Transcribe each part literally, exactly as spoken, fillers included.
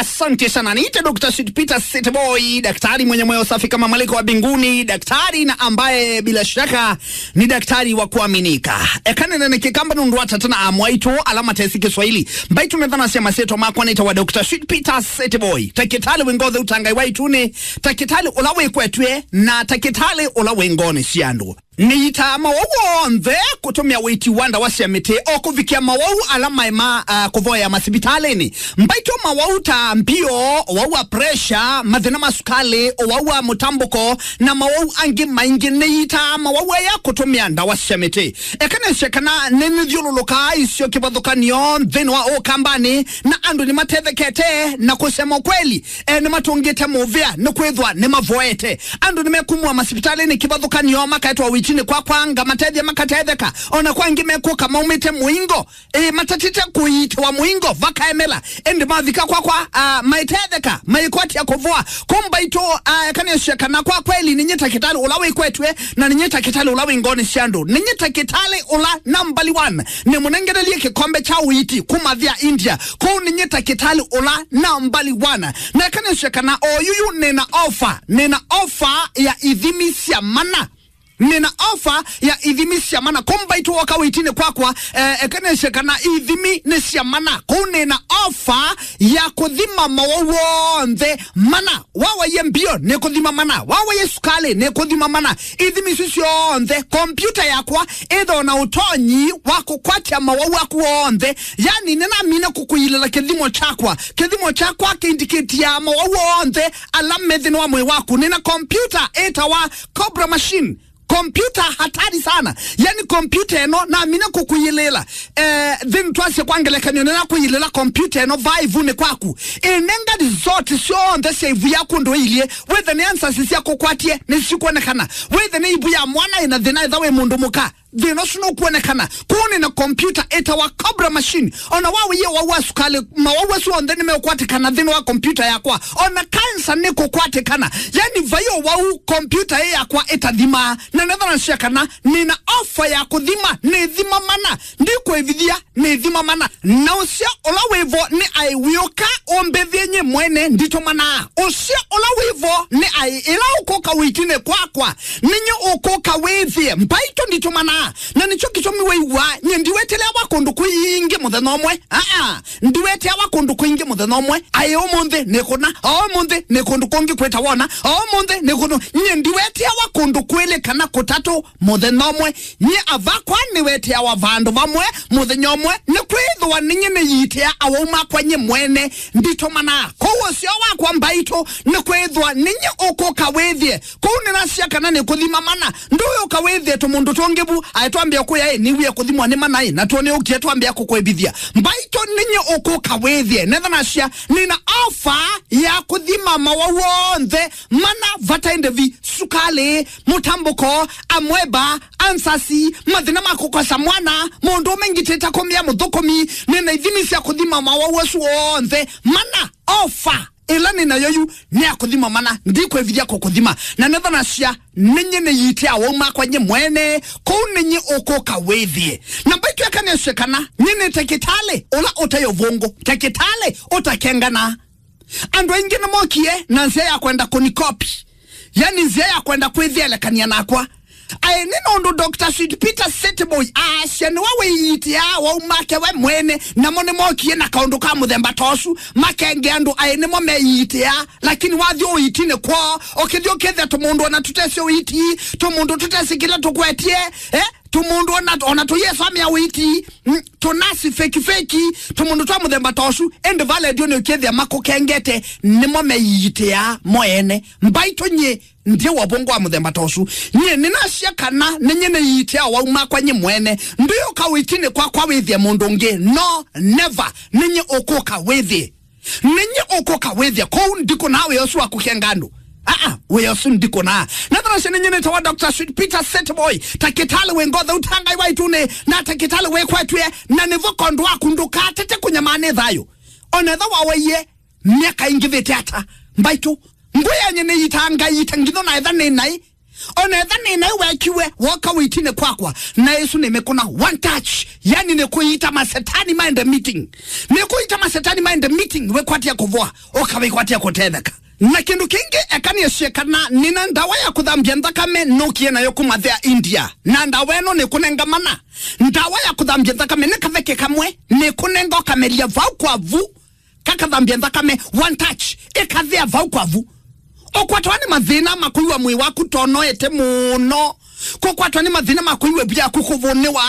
Asante sana. Niite Doctor Sweet Peter Sweet Boy, daktari mwenye moyo safi kama malaika wa mbinguni, daktari na ambaye bila shaka ni daktari wa kuaminika. Eka nene nĩ kĩkamba nũndũ wa tata na amwaitũ ala matesĩ Kĩswahili. Mbaitũ nĩ thana sya masyĩtwa makwa nĩtawa Doctor Sweet Peter Sweet Boy. Takĩtalĩ wĩ ngothi ũtangai wa itune, takĩtalĩ ũla wĩkwetw'e, na takĩtalĩ ũla wĩ ngoonĩ sya andũ. Nĩitaa mawau onthe kũtũmĩa ũiiti wa ndawa sya mĩtĩ o kũvikĩa mawau ala maĩ ma, ah, kũvoea masivitalĩnĩ. Mbaitũ mawau ta mbio, ũwau wa pressure, mathĩna ma sukalĩ, ũwau wa mũtambũko, na mawau angĩ maingĩ. Nĩitaa mawau aya kũtũmĩa ndawa sya mĩtĩ. Eka nĩsye kana nĩnĩthyũlũlũkaa isio kĩvathũkanio nthĩnĩ wa Ũkambanĩ, na andũ nĩmatethekete na kũsema ũkweli. E, nĩmatũngĩte mũvĩa nĩkwĩthwa nĩmavoete. Andũ nĩmekumw'a masivitalĩnĩ kĩvathũkanio, makaetwa ũiitinĩ kwakwa, ngamatethya makatetheka. O na kwa angĩ mekũka maumĩte mũingo, ĩ, matatĩte kũiitĩwa mũingo, vakaemela. Ĩndĩ mavika kwakwa, a, maitetheka, maikwatya kũvoa. Kũu mbaitũ, a, eka nĩsye kana kwa kweli nĩnyie takĩtalĩ ũla wĩkwetw'e, na nĩnyie takĩtalĩ ũla wĩ ngoonĩ sya andũ. Nĩnyie takĩtalĩ ũla nambali one. Nĩmũnengerelie kĩkombe kya ũiiti kuma nthĩ ya India. Kũu nĩnyie takĩtalĩ ũla nambali one. Na eka nĩsye kana o yuyu nĩna ofa, nĩna ofa ya ithimi sya mana. Nĩna ofa ya ithimi sya mana. Kũu mbaitũ woka ũiitinĩ kwakwa, eh, eka nĩsye kana ithimi nĩ sya mana. Kũu nĩna ofa ya kũthima mawau onthe mana. Wawaie mbio, nĩkũthima mana. Wawaie sukalĩ, nĩkũthima mana. Ithimi isu syonthe, kompyuta yakwa ĩthĩwa na ũtonyi wa kũkwatya mawau aku onthe. Yani, nĩnamina kũkũilĩla kĩthimo kyakwa. Kĩthimo kyakwa kĩindikĩtiaa mawau onthe ala me nthĩnĩ wa mwĩĩ waku. Nĩna kompyuta ĩtawa Cobra Machine. Kompyuta hatari sana. Yani, kompyuta ĩno namina kũkũilĩla. Eh, then twasye kwa ngelekany'o, nĩnakũilĩla kompyuta ĩno vaa ĩvunĩ kwaku. Ĩnenga result syonthe sya ivu yaku ũndũ ĩilyĩ. Wĩthe nĩ answers sya kũkwatye, nĩsikwonekana. Wĩthe nĩ ivu ya mwana ĩna thĩna, ĩtha wĩ mũndũ mũka, thĩna ũsu nũkwonekana. Kũu nĩna kompyuta ĩtawa Cobra Machine. O na wawaie ũwau wa sukalĩ, mawau asu onthe nĩmeũkwatĩkana nthĩnĩ wa kompyuta yakwa. O na kansa nĩkũkwatĩkana. Yani, vai ũwau, kompyuta ĩ yakwa ĩtathimaa. Na nĩthanasya kana nĩna ofa ya kũthima, nĩthima mana. Ndikwĩvithya, nĩthima mana. Na ũseo ũla wĩ vo nĩ aĩ wĩũka ũmbĩthye nyie mwene, nditũmanaa. Ũseo ũla wĩ vo nĩ aĩ ĩla ũkũka ũiitinĩ kwakwa, nĩnyie ũkũka wĩthĩe. Mbaitũ nditũmanaa. Na nĩkyo kĩtumi wĩw'aa nyie ndiweteawa kũndũ kwingĩ mũthenya ũmwe. Aa, ndiweteawa kũndũ kwingĩ mũthenya ũmwe. Aĩ ũmũnthĩ nĩkũna, o ũmũnthĩ nĩ kũndũ kũngĩ kwĩta wona, o ũmũnthĩ nĩ kũndũ. Nyie ndiweteawa kũndũ kwĩlĩ kana kũtatũ mũthenya ũmwe. Nyie avakwa nĩweteawa vandũ vamwe mũthenya ũmwe, nĩkwĩthĩwa nĩnyie nĩyiitĩa awau makwa nyie mwene. Nditũmanaa. Kũu ũseo wakwa mbaitũ nĩkwĩthĩwa nĩnyie ũkũka wĩthĩe. Kũu nĩnasya kana nĩkũthima mana. Ndũyũka wĩthĩe tũmũndũ tũngĩ vu, aĩ twambĩa kũya, ĩ, nĩwie kũthimwa nĩ mana, ĩ, na tuo nĩũkie twambĩa kũkwĩvithya. Mbaitũ nĩnyie ũkũka wĩthĩe. Nĩthanasya nĩna ofa ya kũthima mawau onthe mana vataĩ ndĩvi, sukalĩ, mũtambũko, amweba, ansasi, mathĩna ma kũkosa mwana, mũndũ ũmengitĩte kũmĩa mũthũkũmi, nĩna ithimi sya kũthima mawau asu onthe mana. Ofa ĩla nĩ nayo yu nĩ ya kũthima mana, ndikwĩvithya kũkũthima. Na nĩthanasya nĩnyie nĩyiitĩa awau makwa nyie mwene, kũu nĩnyie ũkũka wĩthĩe. Na mbaitũ eka nĩsye kana nyie nĩ takĩtalĩ ũla ũtaĩ ũvũngũ, takĩtalĩ ũtakenganaa. Andũ aingĩ nĩmokie na nzĩa ya kwenda kũnikopi, yani nzĩa ya kwenda kwĩthelekany'a nakwa. Aĩ nĩ nũndũ Doctor Sweet Peter Sweet Boy aasya nĩwe wĩyiitĩaa awau make we mwene, namo nĩmokie na kaũndũ ka mũthemba ta ũsu, makenge andũ aĩ nĩmo meyiitĩaa. Lakini wathi ũiitinĩ kwoo, ũkĩthi ũkĩthĩa tũmũndũ ona tũtesĩ ũiiti, tũmũndũ tũtesĩ kĩla tũkwetye, eh? Tũmũndũ ona, ona tũyĩsomea ũiiti, mm, tũnasi feki feki, tũmũndũ twa mũthemba ta ũsu, ĩndĩ va lendio nĩ ũkĩthĩa makũkengete, nĩmo meyiitĩaa mo ene. Mbaitũ nyie, ndiĩ wa ũvũngũ wa mũthemba ta ũsu. Nyie nĩnasya kana nĩnyie nĩyiitĩa awau makwa nyie mwene. Ndũyũka ũiitinĩ kwakwa wĩthĩe mũndũ ũngĩ. No, never. Nĩnyie ũkũka wĩthĩe. Nĩnyie ũkũka wĩthĩa kũu ndikũnaa wĩa ũsu wa kũkenga andũ. Aa, wĩa ũsu ndikũnaa. Nĩthanasya nĩnyie nĩtawa Doctor Sweet Peter Sweet Boy, takĩtalĩ wĩ ngothi ũtangai wa itune, na takĩtalĩ wĩkwetw'e, na nĩvo kondũ waku ndũkatete kũnyamaa nĩ thayũ. Ona ethĩwa wawaie myaka ĩngĩvĩte ata, mbaitũ, ngũĩ yanyie nĩyitaa ngaita ngitho na etha nĩ naĩ. Ona etha nĩ naĩ wekiwe, woka wĩtinĩ kwakwa, na ĩsu nĩmĩkũna one touch. Yani nĩkũita masetani maende meeting. Nĩkũita masetani maende meeting, wĩkwatia kũvoa, ũkawĩkwatia kũtetheka. Na kĩndũ kĩngĩ, eka nĩasye kana nĩna ndawa ya kũthambya nthakame nũkie nayo kuma thea India. Na ndawa ĩno nĩkũnenga mana. Ndawa ya kũthambya nthakame nĩ kaveke kamwe, nĩkũnenga ũkamelya vau kwa vu. Kakathambya nthakame, one touch, ĩkathea vau kwa vu. Ũkwatwa nĩ mathĩna ma kũiwa mwĩĩ waku tonoete mũno. Kũkwatwa nĩ mathĩna ma kũiwa ĩvu yaku kũvũnĩwa.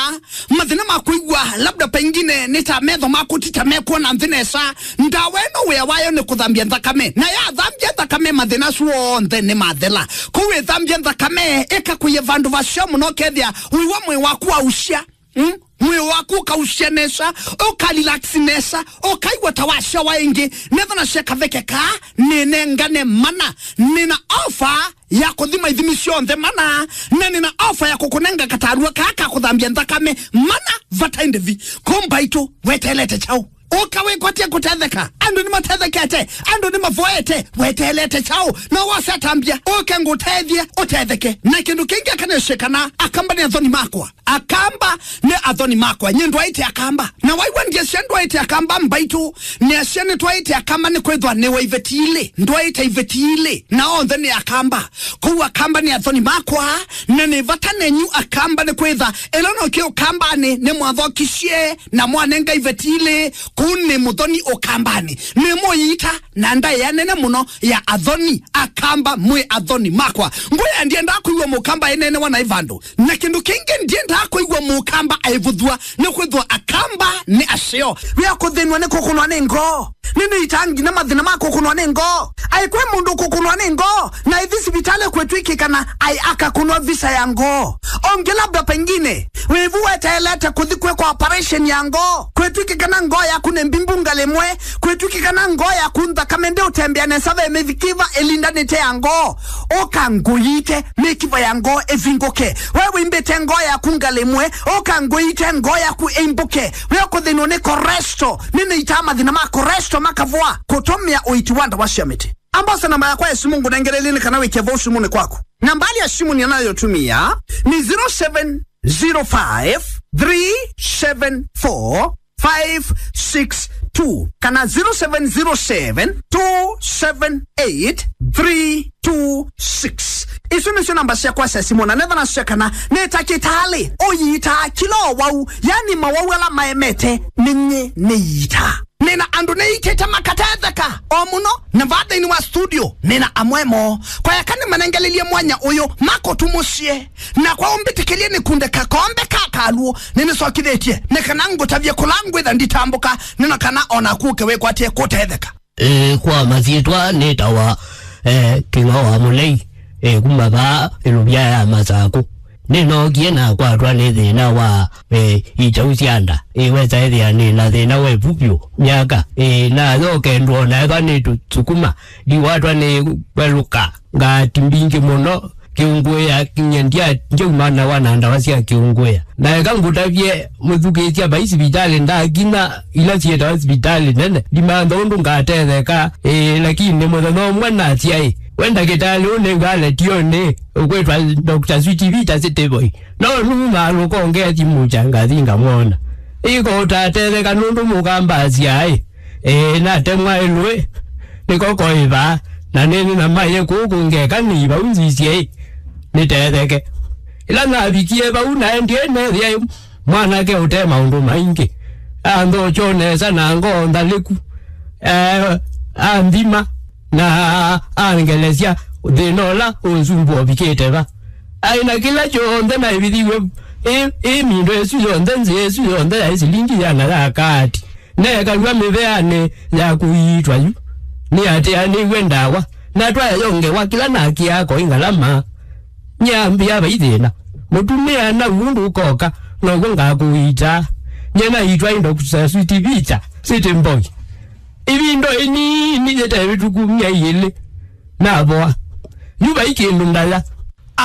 Mathĩna ma kũiwa labda pengine nĩ ta metho maku ti ta mekwona nthĩ nesa. Ndawa ĩno wĩa wayo nĩ kũthambya nthakame. Na yathambya nthakame, mathĩna asu onthe nĩ mathela. Kũu ĩthambya nthakame, ĩkakũie vandũ vaseo mũno, ũkethĩa ũiwa mwĩĩ waku wausya. Mm? Mwĩĩ waku ũkausya nesa, ũkarelax nesa, ũkaigua ta wasyawa ĩngĩ. Nethana sya kaveke kaa, nĩnengane mana. Nĩna ofa ya kũthima ithimi syonthe mana, na nĩna ofa ya kũkũnenga katarua kaa ka kũthambya nthakame mana vata ĩndĩvi. Kũmbaitũ, weteelete kyaũ? Ũka wĩkwatye kũtetheka. Andũ nĩmatethekete, andũ nĩmavoete, weteelete kyaũ? No wose atambya, ũke ngũtethye, ũtetheke. Na kĩndũ kĩngĩ akanĩsye kana Akamba nĩ athoni makwa. Akamba nĩ athoni makwa. Nyie ndwaĩte Akamba. Na waigua ndiasya ndwaĩte Akamba, mbaitũ, nĩasya nĩtwaĩte Akamba nĩkwĩthwa nĩ wa iveti ilĩ. Ndwaĩte iveti ilĩ. Na onthe nĩ Akamba. Kwoou Akamba nĩ athoni makwa, na nĩ vata nenyu Akamba nĩkwĩtha ĩla nokie Ũkambanĩ nĩmwathokisye na mwanenga iveti ilĩ. Kũu nĩ mũthoni Ũkambanĩ. Nĩ mũiita na ndaĩa nene mũno ya athoni. Akamba mwĩ athoni makwa. Ngwĩa ndiendaa kũigua Mũkamba aineenewa naĩ vandũ. Na kĩndũ kĩngĩ ndiendaa kũigua Mũkamba aĩvũthw'a, nĩkwĩthwa Akamba nĩ aseo. Wĩa kũthĩnw'a nĩ kũkũnwa nĩ ngoo. Nĩnĩitaa nginya mathĩna ma kũkũnwa nĩ ngoo. Aĩ kwĩ mũndũ kũkũnwa nĩ ngoo, na ĩthi sivitalĩ kwĩtw'ĩkĩka na aĩ akakũnwa visa ya ngoo. Onge labda pengine wĩvu weteelete kũthi kwĩkwa operation ya ngoo, kwĩtw'ĩkĩka na ngoo yaku nĩ mbimbu ngalĩ ĩmwe, kwĩtw'ĩkĩka na ngoo yaku nthakame ndĩũtembea nesa, ve mĩkiva ĩlindanĩte ya ngoo. Ũka ngũiite, mĩkiva ya ngoo ĩvingũke. We wĩmbĩte ngoo yaku ngalĩ ĩmwe, ũka ngũiite ngoo yaku ĩimbũke. We ũkũthĩnwa nĩ cholesterol, nĩnĩitaa mathĩna ma cholesterol makavoa kũtũmĩa ũiiti wa ndawa sya mĩtĩ. Ambasa namba yakwa ya simũ ngũnengelelie nĩ kana wĩkĩe vau simũnĩ kwaku. Nambali ya simũ ninayotumia ni zero seven zero five three seven four five six two kana zero seven zero seven two seven eight three two six. Isu nĩsyo namba syakwa sya simũ, na netha nasya kana nĩ takĩtalĩ ũyiitaa kĩla ũwau, yani mawau ala maemete nĩnyie nĩyiitaa. Nĩna andũ nĩitĩte makatetheka o mũno, na vaa nthĩnĩ wa studio nĩna amwe moo. Kwayaka nĩmanengelelie mwanya ũyũ makũtumũsye, na kwa ũmbĩtĩkĩlye nĩkunde kakombe ka kalw'ũ nĩnĩsokithĩtye, nĩ kana ngũtavye kũla ngwĩtha nditambũka, nĩna kana o naku ũke wĩkwatye kũtetheka. Ĩĩ, kwa masyĩtwa nĩtawa, eh, Kĩng'o wa Mũlei, eh, kuma vaa ĩlũvya ya Masakũ. Nĩnookie nakwatwa nĩ thĩna wa, eh, ikyau sya nda. Ĩĩ, wesa ĩthĩa nĩ na thĩna wa ĩvu vyũ myaka. Ĩĩ, nayoka ndwona ĩva nĩtũsukuma, ndiwatwa nĩ kwelũka ngati mbingĩ mũno. Kĩũngũĩa, kinya ndya-, ndyaumanawa na ndawa sya kĩũngũĩa. Na eka ngũtavye mũthukĩĩsya, vai sivitalĩ ndakinya ila syĩtawa sivitalĩ nene, ndimantha ũndũ ngatetheka. Ĩĩ, lakini mũthenya ũmwe nasya, ĩ, we ndakĩtalĩ ũnengwa letionĩ ũkwĩtwa Doctor Sweet Vita City Boy. No numaa lũkonge thimũ kya ngathi ngamwona. Ĩko ũtatetheka nũndũ mũkambasya, ĩ. Ĩĩ, natemwa ĩlũĩ, nĩko koĩ vaa, na nĩnĩ na maye kũũ kũngeka nĩ vau nzisye ĩ, nĩtetheke. Ĩla navikie vau, naendie neethĩa ĩ mwanake ũte maũndũ maingĩ, anthokyo nesa na ngoo nthalĩku, eh, anthima, na angelesya thĩna ũla ũnsumbũa ũvikĩte va. Aĩ na kĩla kyonthe naĩvithiw'e, ĩ, ĩ mindo ĩsu yonthe, nzĩa ĩsu yonthe yaĩ silingi ĩana ya kaati. Neekalw'a mĩveanĩ ya kũiitwa yu, nĩatĩanĩw'e ndawa, na twayongewa kĩla nakĩaa koĩ ngalama. Nyambĩa vai thĩna. Mũtumĩa na ũndũ ũkoka, now'o ngakũiitaa. Nye naitwa ĩ Doctor Sweet Vita, City Boy. Ĩvinda ĩnini yĩte ĩvĩtũku myei ĩlĩ, navoa. Yu vai kĩndũ ndaya.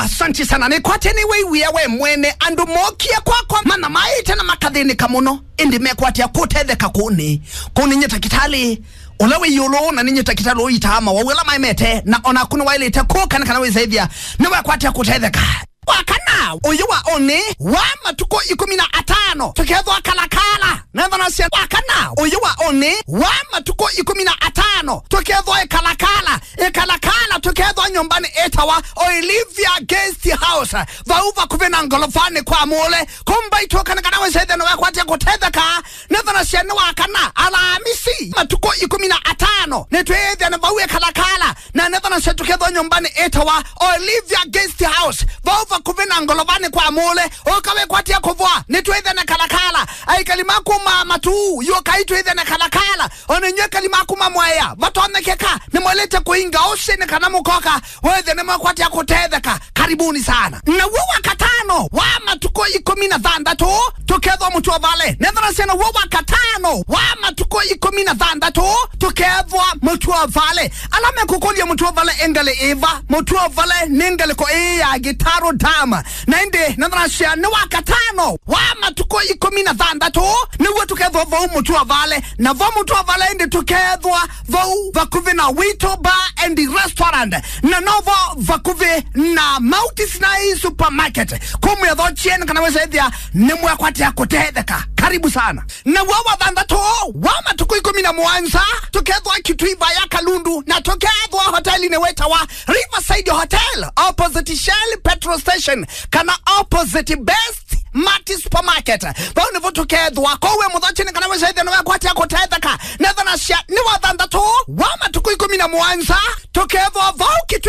Asanti sana. Nĩkwatya nĩwĩw'ĩa we mwene. Andũ mookie kwakwa, manamaĩte na makathĩnĩka mũno, ĩndĩ mekwatya kũtetheka kũnĩ. Kũnĩ nye takĩtalĩ ũla wĩ ĩũlũ, na nĩ nye takĩtalĩ ũitaa mawau ala maemete, na o naku nĩwaĩlĩte kũka nĩ kana wĩsaĩthya nĩwekwatya kũtetheka. Wa kana ũyũ wa ũnĩ wa matukũ ĩkũmi na atano tũkethwa Kalakala. Nethana sya wa kana ũyũ wa ũnĩ wa matukũ ĩkũmi na atano tũkethwa ĩkalakala. Ĩkalakala tũkethwa nyũmbanĩ ĩtawa Olivia Guest House, vau vakuvĩ na ngolovanĩ kwa Mũle. Kumba itũka nĩ kana wĩsaĩthya nĩwekwatya kũtetheka. Nethana sya nĩ wa kana Alamisi matukũ ĩkũmi na atano nĩtwĩĩthya na vau ĩkalakala. Na nethana sya tũkethwa nyũmbanĩ ĩtawa Olivia Guest House, vau vakuvĩ na ngolovanĩ kwa Mũle. Ũka wĩkwatya kũvoa, nĩtwĩthene Kalakala. Aikali ma kuma Matuu, yũkai twĩthene Kalakala. O na inyw'ĩ aikali ma kuma Mwea, vatonyekeka, nĩmwĩlĩte kũinga ũsĩ nĩ kana mũkoka, wĩthĩe nĩmwekwatya kũtetheka. Karibuni sana. Naw'o wa katano wa matukũ ĩkũmi na thanthatũ tũkethwa Mũtũa Vale. Nethana sya naw'o wa katano wa matukũ ĩkũmi na thanthatũ tũkethwa Mũtũa Vale. Ala mekũkũlya Mũtũa Vale ĩ ngalĩ ĩva? Mũtũa Vale nĩ ngalĩko ĩĩ ya Gĩtaro Dam. Na ĩndĩ nethana sya nĩ wa katano wa matukũ ĩkũmi na thanthatũ nĩw'o tũkethwa vau Mũtũa Vale. Na vo Mũtũa Vale ĩndĩ tũkethwa vau vakuvĩ na Wito Bar and Restaurant. Na novo vakuvĩ na Mount Sinai Supermarket. Kumwĩa tho chieni kana wĩsaĩthya nĩmwekwatya kũtetheka. Karibu sana. Naw'o wa thanthatũ wa matukũ ĩkũmi na mũonza tũkethwa Kitui vaya Kalundu, na tũkethwa hotelinĩ wĩtawa Riverside Hotel, opposite Shell petrol station, kana opposite Best Mart Supermarket. Vau nĩvo tũkethwa. Kwoou we mũthochini kana wĩsaĩthya nĩwekwatya kũtetheka. Nethana sya nĩ wa thanthatũ wa matukũ ĩkũmi na mũonza tũkethwa vau Kitui